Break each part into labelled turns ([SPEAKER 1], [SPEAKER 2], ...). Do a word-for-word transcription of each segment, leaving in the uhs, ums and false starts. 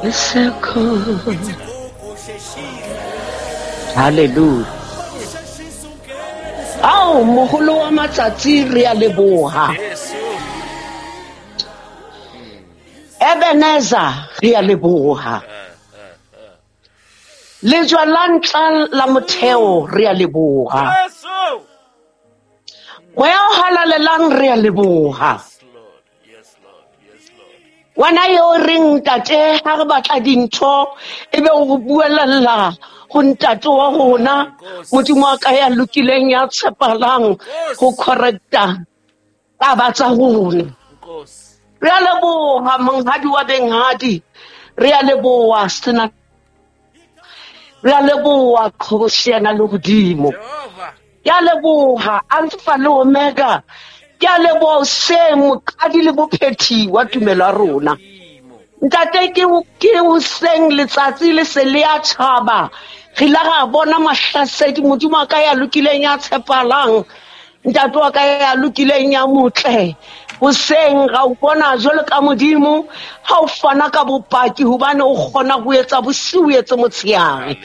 [SPEAKER 1] Lisekhona. Hallelujah. Ao moholo wa matsatsi re a leboha. Ebenezer re a leboha. Lejwa la ntla la motheo re a leboha. Moya o halalelang re a leboha. Wena yo reng ntate ha re batla dintho ebe o re buelella ho ntate wa rona Modimo wa ka ya lokileng ya tshepalang ho correcta taba tsa rona. Re a leboha monghadi wa benghadi, re a leboha sena, re a leboha qhobosheana le hodimo. Ke a leboha Alpha le Omega. Ke a leboha hoseng moqadi le bophethi wa tumelo ya rona. Ntate ke ke hoseng letsatsi le se le a tjhaba. Re ile ra bona mahlasedi Modimo wa ka ya lokileng ya tshepalang. Ntate wa ka ya lokileng ya motle. Hoseng ra o bona jwalo ka Modimo ha o fana ka bopaki hobane o kgona ho etsa bosiu o etse motshehare.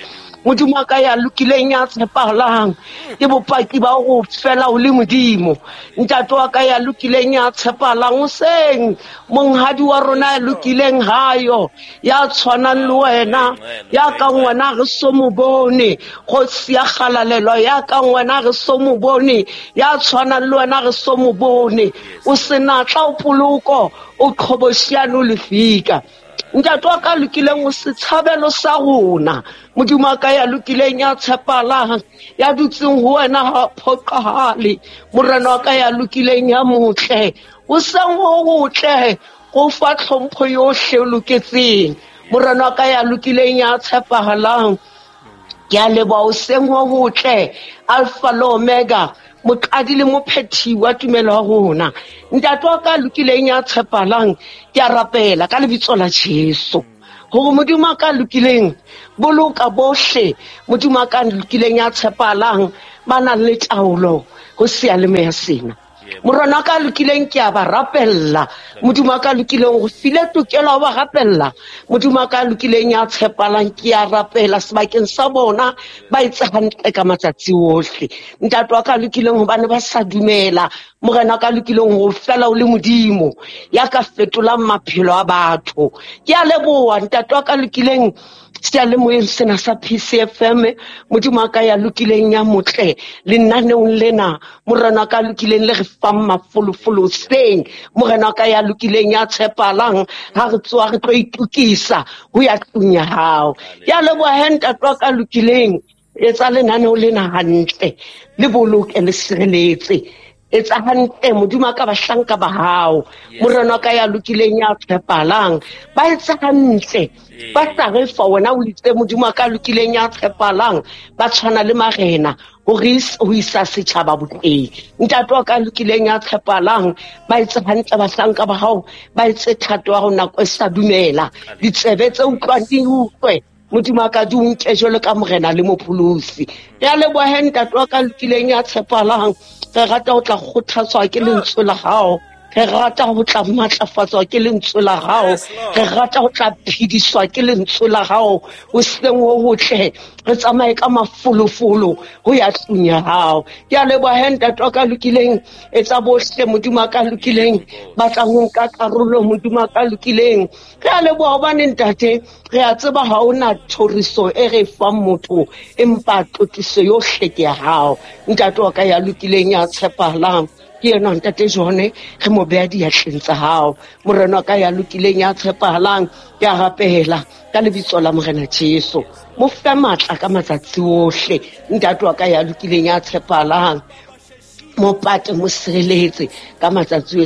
[SPEAKER 1] Modimo wa ka ya lokileng ya tshepahalang ke bopaki ba ho fela o le Modimo. Ntate wa ka ya lokileng ya tshepahalang hoseng monghadi wa rona ya lokileng hayo ya tshwanang le wena ya kang wena re so mo bone kgosi ya kgalalelo ya kang wena re so mo bone ya tshwanang le wena re so mo bone o senatla o poloko o qhoboshiane o lefika. Ntate wa ka lokileng o setshabelo sa rona Modimo wa ka ya lokileng ya tshepalang ya dutseng ho wena ha phoqahale Morena wa ka ya lokileng ya motle o seng ho hotle go fa tlhompho yohle o loketseng Morena wa ka ya lokileng ya tshepahalang. Ke a leboha o seng ho hotle Alpha le Omega moqadi le mophethi wa tumelo ya rona. Ntate wa ka lokileng ya tshepalang ke a rapela ka lebitso la Jesu hore Modimo wa ka lokileng boloka bohle Modimo wa ka lokileng ya tshepalang ba nang le taolo ho seyalemoya sena. Morena wa ka lokileng ke a ba rapella Modimo wa ka lokileng go file tokelo ya ho ba rapella Modimo wa ka lokileng ya tshepalang ke a rapela sebakeng sa bona ba etse hantle ka matsatsi ohle. Ntate wa ka lokileng hobane ba sa dumela Morena wa ka lokileng ho fela o le Modimo ya ka fetolang maphelo a batho. Ke a leboha ntate wa ka lokileng seyalemoyeng sena sa P C F M Modimo wa ka ya lokileng ya motle lenaneong lena Morena wa ka lokileng le re fang mafolofolo hoseng Morena wa ka ya lokileng ya tshepalang ha re tsoha re tlo itokisa ho ya tlung ya hao. Ke a leboha he ntate wa ka lokileng etsa lenaneo lena hantle le boloke le sireletse etsa hantle Modimo wa ka bahlanka ba hao Morena wa ka ya lokileng ya tshepalang ba etsa hantle ba sa re fa wena o itse Modimo wa ka lokileng ya tshepalang ba tshwana le marena ho re ho isa setjhaba botleng. Ntate wa ka lokileng ya tshepalang ba etse hantle bahlanka ba hao ba etse thato ya hao nako e sa dumela ditsebe tse utlwang di utlwe Modimo wa ka di o nke jwalo ka Morena le Mopholosi. Ke a leboha he ntate wa ka lokileng ya tshepalang re rata ho tla kgothatswa ke lentswe la hao re rata ho tla matlafatswa ke lentswe la hao re rata ho tla phediswa ke lentswe la hao hoseng ho hotle re tsamaye ka mafolofolo ho ya tlung ya hao. Ke a leboha he ntate wa ka lokileng etsa bohle Modimo wa ka lokileng ba tlang ho nka karolo Modimo wa ka lokileng. Re a leboha hobane ntate re a tseba ha hona thoriso e re fang motho empa tlotliso yohle ke ya hao ntate wa ka ya lokileng ya tshepahalang ke yena ntate Jone re mo beha diatleng tsa hao Morena wa ka ya lokileng ya tshepahalang ke a rapela ka lebitso la Morena Jesu mo fe matla ka matsatsi ohle ntate wa ka ya lokileng ya tshepahalang mo pate mo sireletse ka matsatsi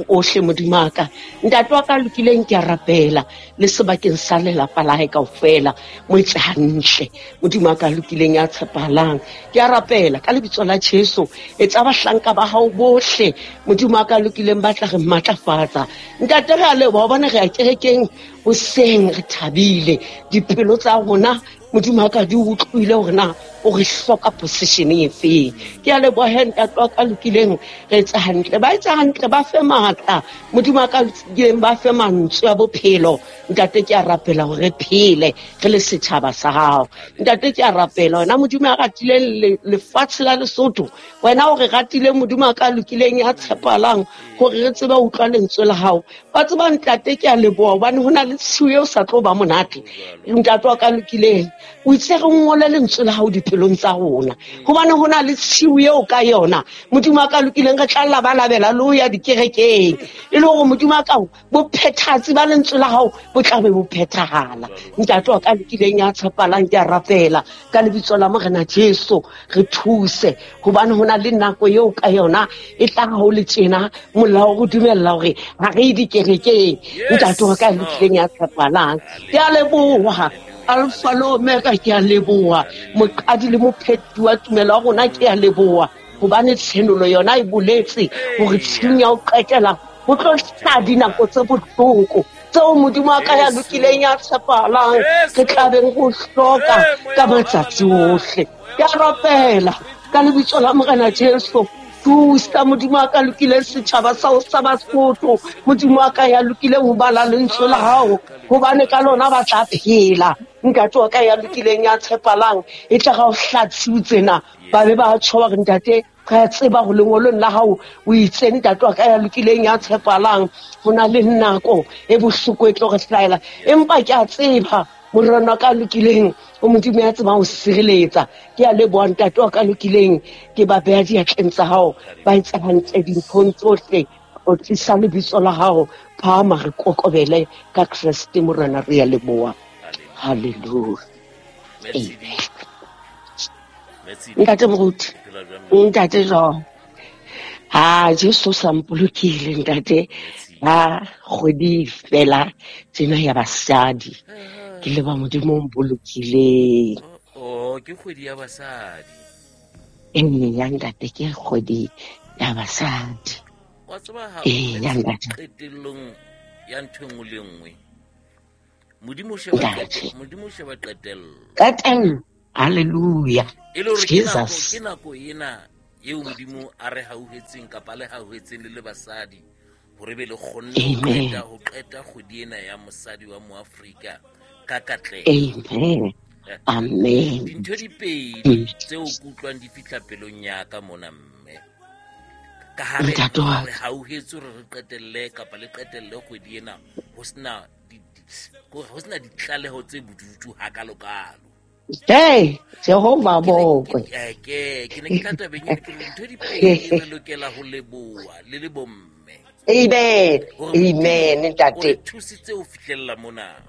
[SPEAKER 1] ohle Modimo wa ka. Ntate wa ka lokileng ke a rapela le sebakeng sa lelapa la hae kaofela mo etse hantle Modimo wa ka lokileng ya tshepahalang ke a rapela ka lebitso la Jesu etsa bahlanka ba hao bohle Modimo wa ka lokileng ba tla re matlafatsa. Ntate re a leboha hobane re ya kerekeng Hoseng re thabile dipelo tsa rona Modimo wa ka di utlwile hore na o re hloka position e feng. Ke a leboha ntate wa ka lokileng, re etsa hantle, ba etsa hantle, ba fe matla Modimo wa ka lokileng, ba fe mantswe a bophelo. Ntate ke a rapela hore re phele re le setjhaba sa hao. Ntate ke a rapela wena Modimo ya ratileng lefatshe la Lesotho, wena o re ratileng Modimo wa ka lokileng ya tshepalang hore re tsebe ho utlwa lentswe la hao. Wa tseba ntate ke a leboha hobane ho na le tshiu eo sa tlo ba monate. Ntate wa ka lokileng, o itse re ngole lentswe la hao dipelong tsa rona, hobane ho na le tshiu eo ka yona Modimo wa ka lokileng re tla labalabela le ho ya dikerekeng, e le hore Modimo wa ka bophethatsi ba lentswe la hao bo tla be bo phethahala. Ntate wa ka lokileng ya tshepalang, ke a rapela ka lebitso la Morena Jesu, re thuse hobane ho na le nako eo ka yona e tla ha o le tjena molao o dumella hore ha re ye dikerekeng. Ntate wa ka lokileng ya tshepalang, ke a leboha. Alpha le Omega, ke a leboha. Moqadi le mophethi wa tumelo ya rona, ke a leboha hobane tshenolo yona e boletse hore tshiung ya ho qetela ho tlo hlaha dinako tse bohloko tseo Modimo wa ka ya lokileng ya tshepahalang re tla beng ho hloka ka matsatsi ohle. Ke a rapela ka lebitso la Morena Jesu, thusa Modimo wa ka lokileng setjhaba sa ho sa Basotho, Modimo wa ka ya lokileng ho bala lentswe la hao, hobane ka lona ba tla phela. Ntate wa ka ya lokileng ya tshepalang, e tla ga o hla tshiu tsena ba be ba tjho hore ntate re a tseba ho lengolong la hao o itse ntate wa ka ya lokileng ya tshepalang ho na le nako e bohloko e tlo re hlahela, empa ke a tseba Morena wa ka lokileng o Modimo ya tsebang ho sireletsa. Ke a leboha ntate wa ka lokileng, ke ba beha diatleng tsa hao, ba etsa hantle dinthong tsohle, o tlisa lebitso la hao phahama, re kokobele ka Kreste Morena, re a leboha. Hallelujah. Ntate Moruti, ntate jwang? Ha Jesu sa mpolokile ntate, ha kgwedi fela tsena ya basadi, ke leba Modimo o mpolokileng.
[SPEAKER 2] Oh, ke kgwedi ya basadi.
[SPEAKER 1] Eya ntate, ke kgwedi ya basadi.
[SPEAKER 2] Wa tseba ha
[SPEAKER 1] Eya ntate.
[SPEAKER 2] Qetellong ya ntho e nngwe le nngwe, Modimo o sheba Modimo o sheba qetello.
[SPEAKER 1] Qetello. Hallelujah.
[SPEAKER 2] E le hore ke nako ke nako ena eo Modimo a re hauhetseng kapa le hauhetseng le le basadi hore be le kgonne ho qeta ho qeta kgwedi ena ya mosadi wa Moafrika ka katleho.
[SPEAKER 1] Amen. Amen.
[SPEAKER 2] Dintho di pedi tseo ke utlwang di fihla pelong ya ka mona mme. Ka ha re re hauhetse hore re qetelle kapa le qetelle kgwedi ena ho sena ho sena ditlaleho tse bodutu hakalokalo.
[SPEAKER 1] Hey, Jehova bokwe.
[SPEAKER 2] Ke ke ne ke tla tabeng ena ke re ntho di pedi re lokela ho leboha le le bomme.
[SPEAKER 1] Amen. Amen ntate.
[SPEAKER 2] O thusitse ho fihlella mona.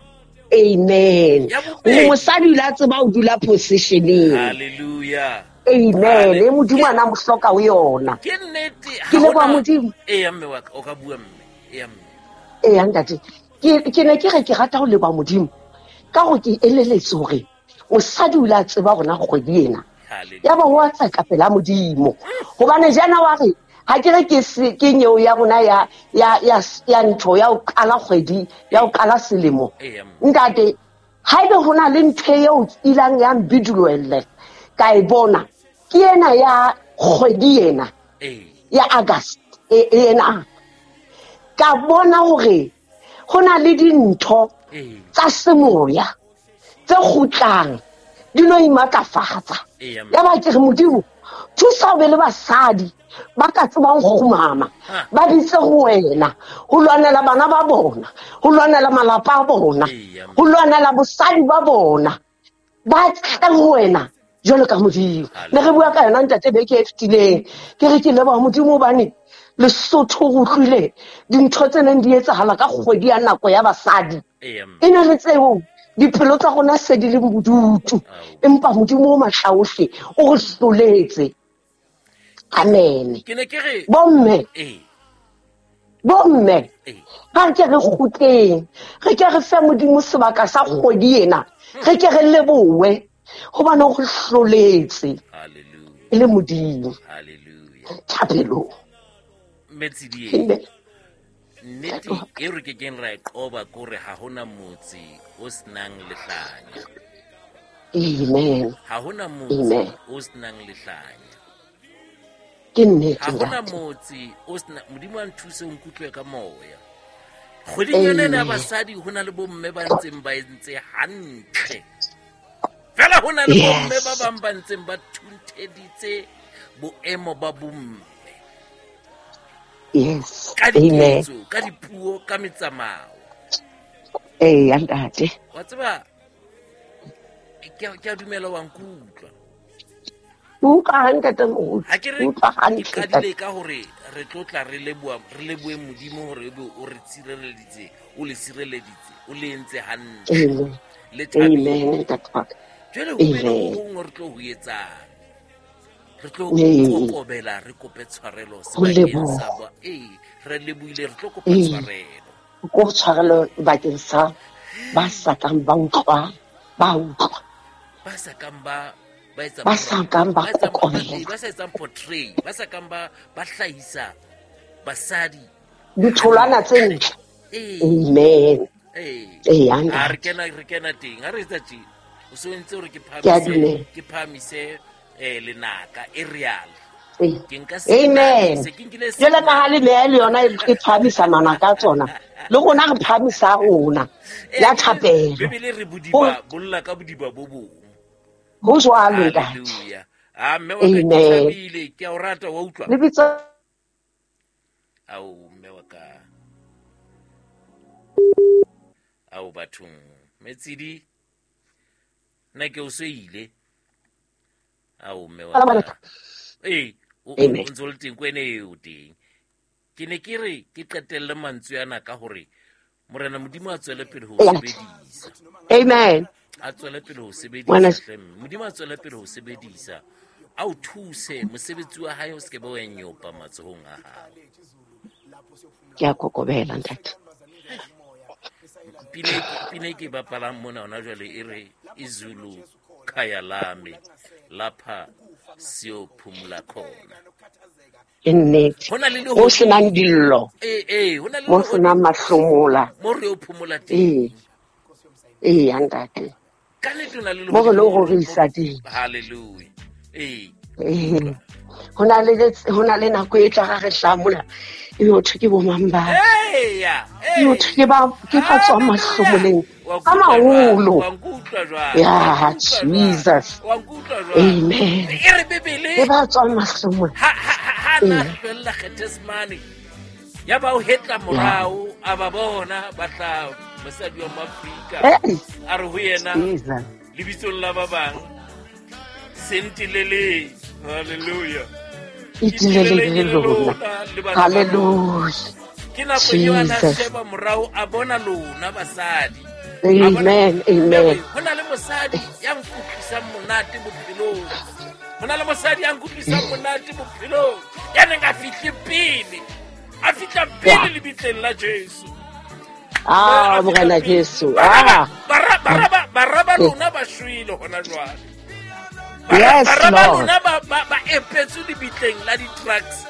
[SPEAKER 1] Amen. Mosadi o la tseba o dula positioneng.
[SPEAKER 2] Hallelujah.
[SPEAKER 1] Amen. E Modimo ana mo hloka ho yona.
[SPEAKER 2] Ke nnete.
[SPEAKER 1] Ke leboha Modimo.
[SPEAKER 2] Eya mme wa ka o ka bua mme. Eya mme.
[SPEAKER 1] Eya ntate. Ke ke ne ke re ke rata ho leboha Modimo ka hore ke eleletse hore mosadi o la tseba rona kgwedi ena. Ya ba wa tsaka pela Modimo. Hobane jana wa re ha ke re ke ke nyeo ya rona ya ya ya ya ntho ya ho qala kgwedi ya ho qala selemo. Ntate haebe hona le ntho eo ilang ya mbiduloelle ka e bona ke ena ya kgwedi ena ya August e ena ka bona hore hona le dintho tsa semoya tse kgutlang di no imatlafatsa. Ya ba ke re Modimo thusa o be le basadi ba ka tsebang go kgumama, ba bitse go wena ho lwanela bana ba bona, ho lwanela malapa a bona, ho lwanela bosadi ba bona, ba tle ho wena jwalo ka Modimo. Ne re bua ka yona ntate beke e fetileng, ke re ke leboha Modimo hobane Lesotho go utlwile dintho tse neng di etsahala ka kgwedi ya nako ya basadi. E ne le tseo dipelo tsa rona se di le bodutu, empa Modimo o matla ohle o re hloletse. Amen.
[SPEAKER 2] Ke ne ke re
[SPEAKER 1] bomme,
[SPEAKER 2] eh
[SPEAKER 1] bomme, ha ke re kgutleng, re ke re fe Modimo sebaka sa kgwedi ena, re ke re lebohe hobane o re hloletse.
[SPEAKER 2] Hallelujah.
[SPEAKER 1] E le Modimo.
[SPEAKER 2] Hallelujah.
[SPEAKER 1] Thapelo.
[SPEAKER 2] Metsidie. Nnete e re ke keng ra e qoba kore ha hona motse o senang lehlanya.
[SPEAKER 1] Amen.
[SPEAKER 2] Ha hona motse o senang lehlanya.
[SPEAKER 1] Ke nnete.
[SPEAKER 2] Ha hona motse o sena Modimo a nthuse o nkutlwe ka moya. Kgweding yona ena ya basadi ho na le bomme ba ntseng ba entse hantle. Fela ho na le bomme ba bang ba ntseng ba thuntheditse boemo ba bomme.
[SPEAKER 1] Yes.
[SPEAKER 2] Ka diketso, ka dipuo, ka metsamao.
[SPEAKER 1] Eh, ntate.
[SPEAKER 2] Wa tseba ke ke a dumela wa nkutlwa.
[SPEAKER 1] Utlwa hantle ntate moholo.
[SPEAKER 2] Ha ke re
[SPEAKER 1] Utlwa hantle.
[SPEAKER 2] Ke qadile ka hore re tlotla re leboha re lebohe Modimo hore ebe o re tshireleditse, o le sireleditse, o le entse hantle.
[SPEAKER 1] Amen.
[SPEAKER 2] Le thabile.
[SPEAKER 1] Amen, ntate wa ka.
[SPEAKER 2] Jwale ho be le ho hong re tlo ho etsang. Re tlo kokobela re kope tshwarelo sebakeng sa ba. Eh, re lebohile re tlo kopa tshwarelo.
[SPEAKER 1] Ko tshwarelo bakeng sa ba sa kang ba utlwa, ba utlwa.
[SPEAKER 2] Ba sa kang ba ba etsa
[SPEAKER 1] ba sa kang ba kokobela,
[SPEAKER 2] ba sa etsang portray, ba sa kang ba ba hlahisa basadi
[SPEAKER 1] ditholwana tse ntle. Amen.
[SPEAKER 2] Eh.
[SPEAKER 1] Eh,
[SPEAKER 2] a re kena re kena teng, ha re etsa tje. O so ntse hore ke phamise ke phamise eh lenaka e real. Ke nka se
[SPEAKER 1] Amen.
[SPEAKER 2] Se ke nkile se.
[SPEAKER 1] Jwale ka ha le meya le yona e phamisa manaka tsona. Le rona re phamisa rona ya thapelo.
[SPEAKER 2] Bibele re bodiba bolla ka bodiba bo bong.
[SPEAKER 1] Ho jwalo ntate.
[SPEAKER 2] Hallelujah. Ah mme wa ka ke thabile, ke a o rata wa utlwa.
[SPEAKER 1] Le bitsa
[SPEAKER 2] Ao mme wa ka. Ao bathong. Metsidi nna ke o seile. Ao mme wa ka. Eh, o ntse o le teng kwene eo teng. Ke ne ke re ke qetelle mantswe ana ka hore Morena Modimo a tswele pele ho sebedisa.
[SPEAKER 1] Amen.
[SPEAKER 2] A tswele pele ho sebedisa. Modimo a tswele pele ho sebedisa. A o thuse mosebetsi wa hae o se ke ba wa nyopa matsohong a hao.
[SPEAKER 1] Ke a kokobela ntate.
[SPEAKER 2] Pine pine ke bapalang mona hona jwale e re izulu khaya lami lapha siyophumula khona.
[SPEAKER 1] Ke nnete.
[SPEAKER 2] Ho na le
[SPEAKER 1] Mo senang dillo.
[SPEAKER 2] Eh eh, ho na le
[SPEAKER 1] mo senang mahlomola.
[SPEAKER 2] Mo re o phomola teng.
[SPEAKER 1] Eh, eh ntate.
[SPEAKER 2] Ka nnete o na le
[SPEAKER 1] mo re lo rorisa teng.
[SPEAKER 2] Hallelujah. Eh.
[SPEAKER 1] Eh. Ho na le ho na le nako e tla re hlamola. E ho thwe ke bo mang ba.
[SPEAKER 2] Eh ya.
[SPEAKER 1] E ho thwe ke ba ke ba tswa mahlomoleng. Ka maholo.
[SPEAKER 2] Wa nkutlwa jwang?
[SPEAKER 1] Ya Jesus.
[SPEAKER 2] Wa nkutlwa jwang?
[SPEAKER 1] Amen.
[SPEAKER 2] E re Bibele.
[SPEAKER 1] Ke ba tswa mahlomoleng.
[SPEAKER 2] Ha ha ha na fella Gethsemane. Ya ba o hetla morao a ba bona ba tla mosadi wa Afrika. A re ho yena lebitsong la ba bang. Sentilele. Hallelujah.
[SPEAKER 1] Itilele lona. Hallelujah.
[SPEAKER 2] Ke nako eo a na sheba morao a bona lona basadi.
[SPEAKER 1] Amen, amen.
[SPEAKER 2] Ho na le mosadi ya nkutlwisang monate bophelong. Ho na le mosadi ya nkutlwisang monate bophelong. Ya neng a fihle pele. A fihla pele lebitleng la Jesu.
[SPEAKER 1] Ah, Morena Jesu. Ah.
[SPEAKER 2] Bara bara bara ba lona ba shwele hona jwale.
[SPEAKER 1] Yes,
[SPEAKER 2] bara ba
[SPEAKER 1] Lord.
[SPEAKER 2] lona ba ba ba epetswe lebitleng la di-trucks.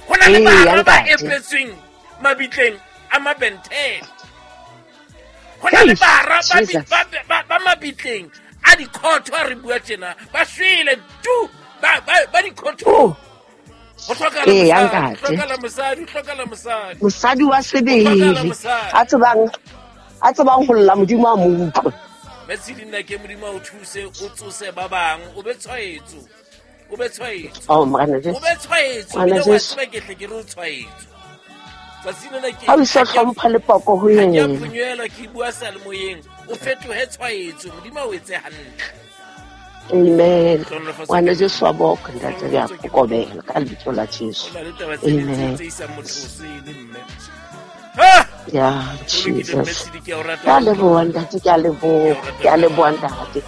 [SPEAKER 2] Ho na le bara ba epetsweng mabitleng a mabenteng. Ho na le bara ba ba ba mabitleng a dikhotho a re bua tjena ba shwele tu ba ba ba dikhotho.
[SPEAKER 1] Oh.
[SPEAKER 2] Ho hlokala mosadi, hlokala mosadi, hlokala mosadi.
[SPEAKER 1] Mosadi wa sebele. A tsebang a tsebang ho lla Modimo a mo utlwe.
[SPEAKER 2] Metsidi nna ke Modimo o thuse o tsose ba bang o be tshwaetso. O be tshwaetso.
[SPEAKER 1] Oh Morena Jesu.
[SPEAKER 2] O be tshwaetso. Morena Jesu. Ke tle ke re o tshwaetso. Tsatsi lena ke
[SPEAKER 1] ha o sa hlompha le poko ho yena.
[SPEAKER 2] Ke a phunywela ke bua sa le moyeng. O fetohe tshwaetso. Modimo o etse hantle.
[SPEAKER 1] Amen. Ngwana Jesu wa boka ntate ya kokobela ka lebitso la Jesu. Amen. Ya Jesus. Ke a leboha ntate, ke a leboha, ke a leboha ntate.